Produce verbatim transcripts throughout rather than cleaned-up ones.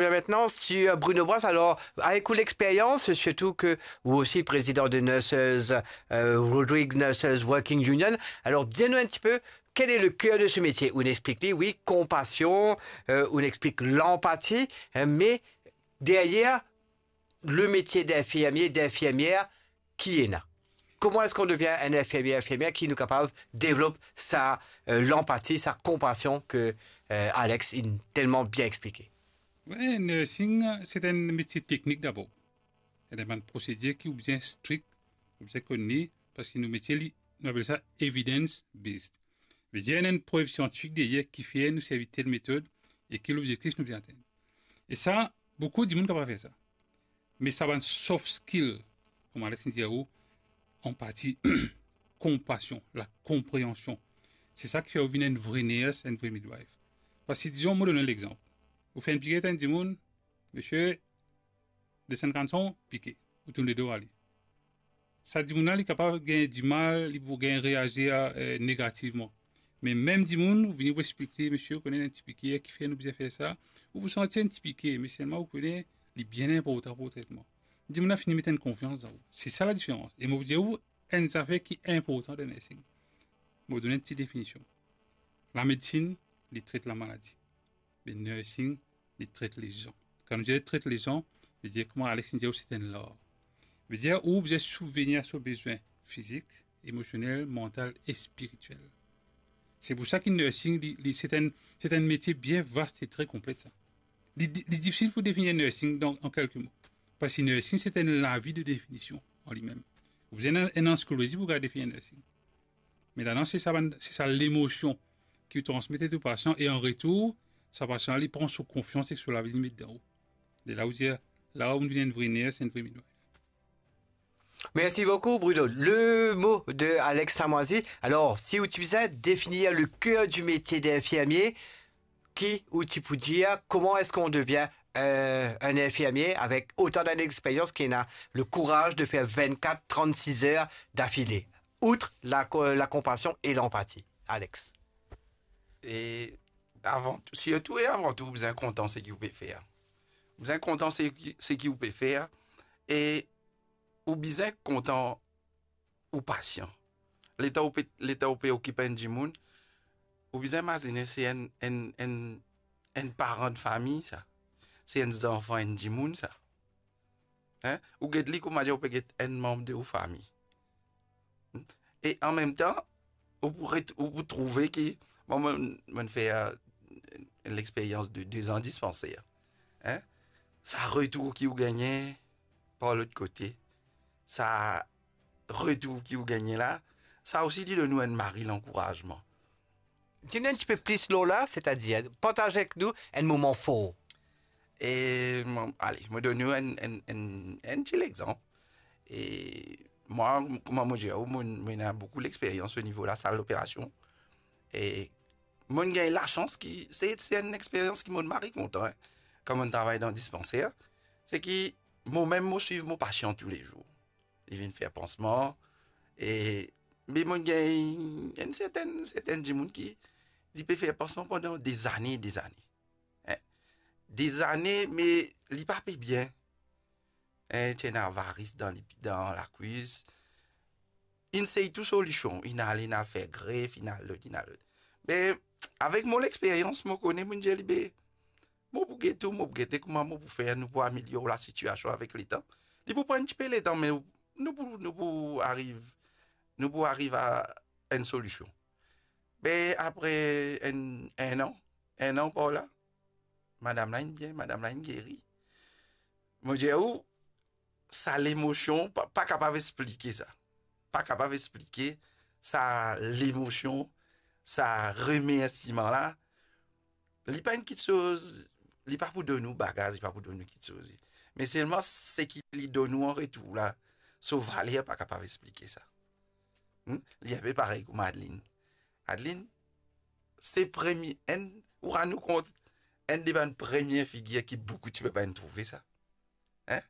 reviens maintenant sur Bruno Brasse. Alors, avec l'expérience, surtout que vous aussi président de Nurses, euh, Rodrigues Nurses Working Union, alors dis-nous un petit peu quel est le cœur de ce métier. Ou explique, oui, compassion, euh, ou explique l'empathie, hein, mais derrière le métier d'infirmier, d'infirmière, qui est là? Comment est-ce qu'on devient un infirmier, infirmière qui nous capable de développer sa, euh, l'empathie, sa compassion que, euh, Alex a tellement bien expliqué? Oui, nursing, c'est un métier technique d'abord. Il y a des prosédures qui sont bien strictes, ou bizin kone li, parski nou métier li, nou apel sa evidence-based. Vedir, ena enn prev siantifik deryer ki fer nou servi tel metod e ki lobzektif nou bizin atenn. E sa, boukou dimoun kapav fer sa. Me sa bann soft skill, kouma Alex inn dir ou, anpati, konpasion, lakonpreansion, se sa ki fer ou vinn enn vre nurse, enn vre midwife. Parski, dizon, mo donn enn lexanp. Ou fer enn pikir enn dimoun, misie, desann kannson, pike, ou tourn ledo ale. Sa dimoun la, li kapav gagn dimal, li pou gagn reazir, eh, negativman. Me mem dimoun, ou vini, ou explik li, misie, ou kone enn ti pike ki fer nou bizin fer sa, ou pou santi enn ti pike, me selman ou kone li bien inportan pou tretman. Dimoun la fini met enn konfians dan ou. Se sa ladiferans. E mo pou dir ou enn zafer ki inportan dan nursing. Mo donn enn ti definision. Lamedsin, li tret lamaladi. Me nursing, li tret lezan. Kan nou dir tret lezan, vedir kouma Alex inn dir ou, se enn lar. Vedir ou bizin sibvenir a so bezwin fizik, emosionel, mantal e spiritiel. Se pou sa ki nursing, li, li, se enn, se enn metie bien vast e tre konplet, sa. Li, li difisil pou definir nursing dan, an kelke mo. Parski nursing, se enn lavi de definision an limem. Ou bizin enn, enn ansiklopedi pou kapav definir nursing. Me ladan, se sa bann, se sa lemosion ki ou transmet ou pasian, e an retour, sa pasian li pran so konfians ek so lavi li met dan ou. De la ou dir, la ou vinn enn vre nurse, enn vre midwife. Merci beaucoup, Bruno. Le mot de Alex Samoisi. Alors, si ou ti bizin définir le cœur du métier d'infirmier, qui ou ti pou dir, comment est-ce qu'on devient, euh, un infirmier avec autant d'années d'expérience, qui a le courage de faire vingt-quatre, trente-six heures d'affilée, outre la co-, la compassion et l'empathie? Alex. E avan tou, sirtou e avan tou, ou bizin kontan seki ou pe fer. Ou bizin kontan seki, seki ou pe fer. E ou bizin kontan ou pasian. Letan ou pe, letan ou pe okip enn dimoun, ou bizin imazine se enn, enn, enn, enn paran de fami, sa. Se enn zanfan enn dimoun, sa. Hein? Ou get li kouma dir ou pe get enn manb de ou fami. E an mem tan, ou pou ret-, ou pou trouve ki, bon, mo, mo fer, euh, lexperyans de de zan dispanser. Hein? Sa retour ki ou gagne par lot kote, sa retour ki ou gagne la, sa osi li donn ou enn mari lankourazman. Dir nou enn tipe plis lor la, setadir, partaz avek nou enn moman for. E mo, ale, mo donn ou enn, enn, enn, enn ti lexanp. E mwa, kouma mo dir ou, mo, mo ena boukou lexperyans o nivo lasal loperasion. E mo gagn lasans ki, se, se enn experyans ki mo mari kontan, hein, kan mo travay dan dispanser. Se ki mo mem, mo swiv mo pasian toulezour. Li vinn fer pansman, e, me mo gagn enn sertenn, sertenn dimoun ki, li pe fer pansman pandan dezane, dezane. Hein? Dezane, me li pa pe bien. Hein, ti ena varis dan li, dan lakwis. Inn sey tou solision, inn al, inn al fer gref, inn al lot, inn al lot. Me avek mo lexperyans, mo kone, mo dir li, be, mo pou gete, mo pou gete kouma mo pou fer, nou pou amelior lasitiasion avek letan. Li pou pran enn tipe letan, me nou pou, nou pou ariv, nou pou ariv a enn solision. Be apre enn, enn an, enn an par la, madam la inn bien, madam la inn geri. Mo dir ou, sa lemosion, pa, pa kapav explike sa. Pa kapav explike sa lemosion, sa remersiman la. Li pa enn kitsoz, li pa pou donn ou bagaz, li pa pou donn ou kitsoz. Me selman seki li donn ou an retour la, so valer pa kapav explike sa. Hmm? Li enpe parey kouma Adeline. Adeline, se premie, enn, ou rann ou kont, enn de bann premie figir ki boukou ti pe pa inn trouve sa. Hein?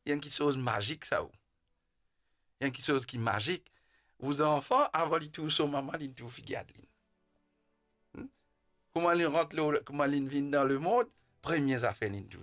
Li enn kitsoz mazik sa ou. Li enn kitsoz ki mazik. Ou zanfan, avan li trouv so mama, li trouv figir Adeline. Hmm? Kouma li rant lor, kouma li vinn dan lemond, premie zafer li trouve,